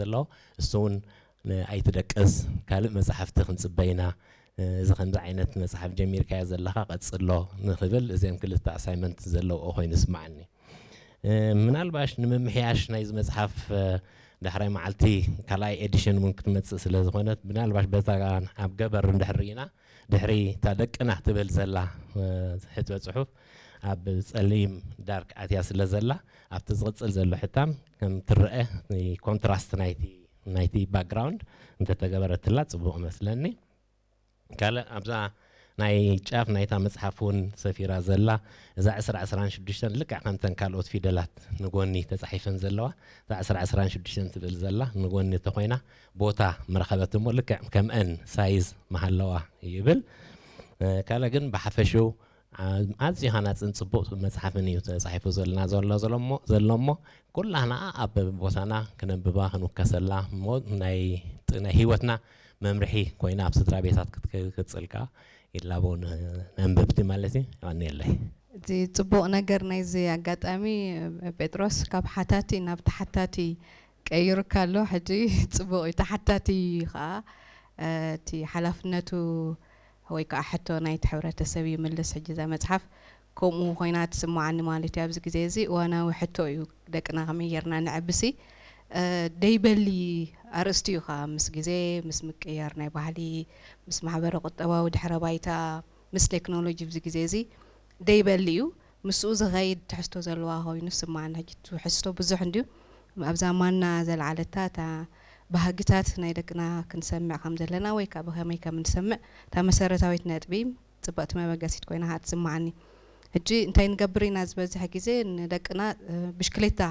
ዘለዎ፣ እሱ እውን ን-፣ ኣይትደቅስ፣ ካልእ መጻሕፍቲ ክንጽበ ኢና፣ እዚ ከምዚ ዓይነት መጽሓፍ ጀሚርካዮ ዘለኻ ቀጽሎ ንኽብል፣ እዚኦም ክልተ ኣሳይመንት ዘለውኦ ኮይኑ ይስምዓኒ። እ፣ ምናልባሽ ንምምሕያሽ ናይዚ መጽሓፍ፣ እ፣ ዳሕራይ መዓልቲ ካልኣይ ኤዲሽን እውን ክትመጽእ ስለ ዝኾነት፣ ምናልባሽ በታ ኣብ ገበር እንድሕር ርኢና፣ ድሕሪ እታ ደቅና ትብል ዘላ፣ እ፣ ሕትመ ጽሑፍ ኣብ ጸሊም ዳርክ ኣትያ ስለ ዘላ፣ ኣብቲ ዝቕጽል ዘሎ ሕታም ከም ትረአ፣ ኮንትራስት ናይቲ፣ ናይቲ ባክግራውንድ እንተተገበረትላ ጽቡቕ መስለኒ። ካልእ ኣብዛ ናይ ጫፍ ናይታ መጽሓፍ እውን ሰፊራ ዘላ፣ እዛ ዕስራ ዕስራን ሽዱሽተን ልክዕ ከምተን ካልኦት ፊደላት ንጎኒ ተጻሒፈን ዘለዋ፣ እዛ ዕስራ ዕስራን ሽዱሽተን ትብል ዘላ ንጎኒ ተኾይና ቦታ ምረኸበት እሞ ልክዕ ከምአን ሳይዝ መሃለዋ ይብል። እ፣ ካልእ ግን ብሓፈሽኡ ኣ-፣ ኣዝዩ ሃናጽን ጽቡቕ መጽሓፍን እዩ ተጻሒፉ ዘለና ዘሎ፣ ዘሎ እሞ፣ ዘሎ እሞ፣ ኩላህና ኣብ ቦታና ክነንብባ ክንውከሰላ እሞ፣ ናይ ጥ-፣ ናይ ህይወትና መምርሒ ኮይና ኣብ ስድራ ቤታት ክትክ-፣ ክትቅጽል ከኣ ይላቦ ን-፣ ነንበብቲ ማለት እዩ። የቐንየለይ። እቲ ጽቡቕ ነገር ናይዚ ኣጋጣሚ፣ ጴጥሮስ ካብ ሓታቲ ናብ ተሓታቲ ቀይሩካ ኣሎ። ሕጂ ጽቡቕ እዩ። ተሓታቲ ከኣ፣ እ፣ እቲ ሓላፍነቱ ወይ ከኣ ሕቶ ናይቲ ሕብረተሰብ ይምልስ። ሕጂ እዛ መጽሓፍ ከምኡ ኮይና ትስምዓኒ ማለት እዩ። ኣብዚ ግዜ እዚ እዋናዊ ሕቶ እዩ። ደቅና ከመይ ጌርና ነዕብሲ? እ፣ ደይበሊ ኣርእስቲ እዩ ከኣ ምስ ግዜ፣ ምስ ምቅያር ናይ ባህሊ፣ ምስ ማሕበረ ቁጠባዊ ድሕረ ባይታ፣ ምስ ቴክኖሎጂ ኣብዚ ግዜ እዚ ደይበሊ እዩ። ምስኡ ዝኸይድ ትሕዝቶ ዘለዋ ኮይኑ ይስምዓኒ። ሕጂ እቲ ትሕዝቶ ብዙሕ እንድዩ። ኣብዛ ማና ዘልዓለታ እታ ባህግታት ናይ ደቅና ክንሰምዕ ከም ዘለና ወይ ከኣ ብኸመይ ከም እንሰምዕ እታ መሰረታዊት ነጥቢ ጽብቕቲ መበገሲት ኮይና ከኣ ትስምዓኒ። ሕጂ እንታይ ንገብር ኢና ዝበዝሕ ግዜ ንደቅና፣ እ፣ ብሽክሌታ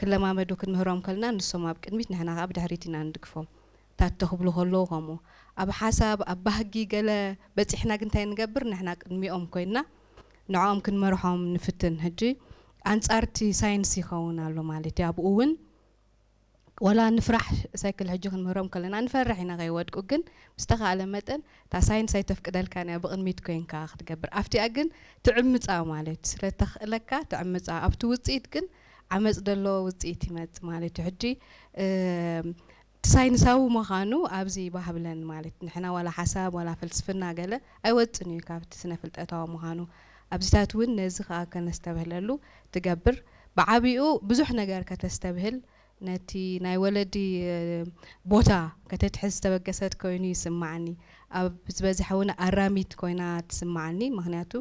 ክለማመዱ ክንምህሮም ከለና ንሶም ኣብ ቅድሚት ንሕና ከኣ ብድሕሪት ኢና ንድግፎም። ታት ተኽብሉ ከለዉ ከምኡ። ኣብ ሓሳብ፣ ኣብ ባህጊ ገለ በጺሕና ግን እንታይ ንገብር? ንሕና ቅድሚኦም ኮይንና ንዕኦም ክንመርሖም ንፍትን። ሕጂ ኣንጻርቲ ሳይንስ ይኸውን ኣሎ ማለት እዩ። ኣብኡ እውን ወላ ንፍራሕ ሳይክል ሕጂ ክንምህሮም ከለና ንፈርሕ ኢና ከይወድቁ፣ ግን ብዝተኻእለ መጠን እታ ሳይንስ ኣይተፍቅደልካን እያ ብቕድሚት ኮይንካ ክትገብር። ኣብቲኣ ግን ትዕምጻ ማለት እዩ። ስለ ተኽእለካ ትዕምጻ። ኣብቲ ውጽኢት ግን ዓመጽ ደሎ ውጽኢት ይመጽእ ማለት እዩ። ሕጂ፣ እ፣ እቲ ሳይንሳዊ ምዃኑ ኣብዚ ባህብለን ማለት ንሕና ዋላ ሓሳብ ዋላ ፍልስፍና ገለ ኣይወጽን እዩ ካብቲ ስነ ፍልጠታዊ ምዃኑ። ኣብዚታት እውን ነዚ ከኣ ከነስተብህለሉ ትገብር። ብዓቢኡ ብዙሕ ነገር ከተስተብህል ነቲ ናይ ወለዲ፣ እ፣ ቦታ ከተትሕዝ ዝተበገሰት ኮይኑ ይስምዓኒ። ኣብ ዝበዝሐ እውን ኣራሚት ኮይና ትስምዓኒ። ምኽንያቱ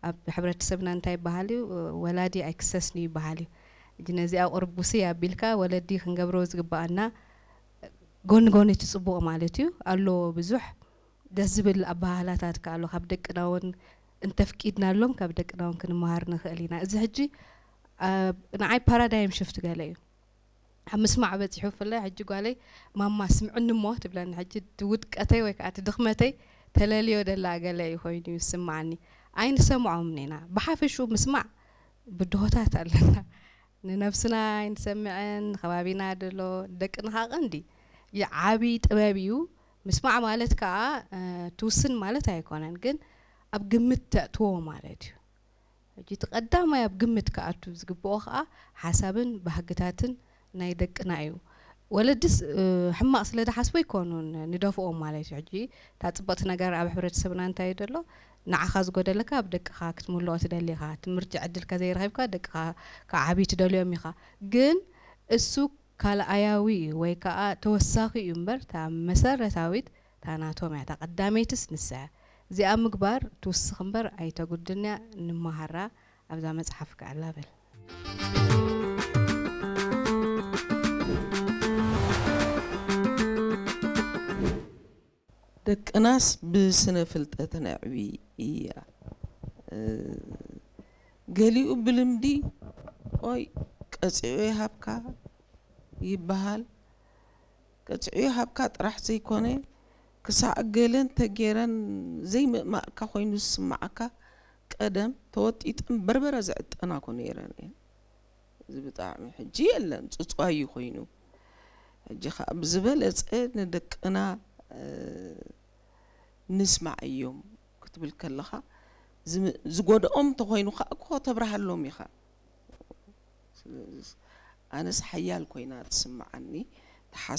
ኣብ ሕብረተሰብና እንታይ ይበሃል እዩ? ወላዲ ኣይክሰስን እዩ ይበሃል እዩ። ሕጂ ነዚኣ ቁርቡሲ ኣቢልካ ወለዲ ክንገብሮ ዝግባኣና ጎኒ ጎኒ እቲ ጽቡቕ ማለት እዩ። ኣሎ ብዙሕ ደስ ዝብል ኣበሃህላታት ከኣ ኣሎ። ካብ ደቅና እውን እንተፍቂድናሎም ካብ ደቅና እውን ክንመሃር ንኽእል ኢና። እዚ ሕጂ፣ ኣ፣ ንዓይ ፓራዳይም ሽፍት ገለ እዩ። ኣብ ምስማዕ በጺሑ ብፍላይ ሕጂ ጓለይ ማማ ስምዕኒ እሞ ትብለኒ። ሕጂ እቲ ውድቀተይ ወይ ከኣ እቲ ድኽመተይ ተለልዮ ደላ ገለ እዩ ኮይኑ ይስምዓኒ። ኣይንሰምዖምን ኢና። ብሓፈሽኡ ምስማዕ ብድሆታት ኣለና። ንነብስና ኣይንሰምዕን፣ ንከባቢና ደሎ፣ ንደቅና ከኣ ቀንዲ። ይዓቢ ጥበብ እዩ። ምስማዕ ማለት ከኣ፣ እ፣ ትውስን ማለት ኣይኮነን፣ ግን ኣብ ግምት ተእትዎ ማለት እዩ። ሕጂ እቲ ቀዳማይ ኣብ ግምት ክኣቱ ዝግብኦ ከኣ ሓሳብን ባህግታትን ናይ ደቅና እዩ። ወለድስ፣ እ፣ ሕማቕ ስለ ዝሓስቡ ኣይኮኑን ንደፍኦም ማለት እዩ። ሕጂ እታ ጽብቕቲ ነገር ኣብ ሕብረተሰብና እንታይ እዩ ዘሎ? ንዓኻ ዝጎደለካ ኣብ ደቅኻ ክትምልኦ ትደሊ ኢኻ። ትምህርቲ ዕድል ከዘይረኺብካ ደቅኻ ክዓብዩ ትደልዮም ኢኻ። ግን እሱ ካልኣያዊ እዩ ወይ ከኣ ተወሳኺ እዩ እምበር፣ እታ መሰረታዊት እታ ናቶም እያ። እታ ቀዳመይትስ ንሳ እያ። እዚኣ ምግባር ትውስኽ እምበር ኣይተጉድልን እያ። ንመሃራ ኣብዛ መጽሓፍ ከኣላ በል። ደቅናስ ብስነ ፍልጠት ነዕቢ እያ። እ፣ ገሊኡ ብልምዲ፣ ኦይ፣ ቀጺዑ ይሃብካ ይበሃል። ቀጺዑ ይሃብካ ጥራሕ ዘይኮነ፣ ክሳዕ ገለን ተጌረን ዘይምእማእካ ኮይኑ ዝስምዓካ፣ ቀደም ተወጢጠን በርበረ ዝዕጠና ኮ ነይረን እየን። እዚ ብጣዕሚ ሕጂ የለን፣ ጽጽዋይ እዩ ኮይኑ። ሕጂ ኸኣ ብዝበለጸ ንደቅና፣ እ፣ ንስማዕ እዮም ክትብል ከለኻ፣ ዝም-፣ ዝጎድኦም እንተኾይኑ ኸኣ እኮ ተብርሃሎም ኢኻ። ስለዚ ኣነስ ሓያል ኮይና ትስምዓኒ፣ ተሓስ-፣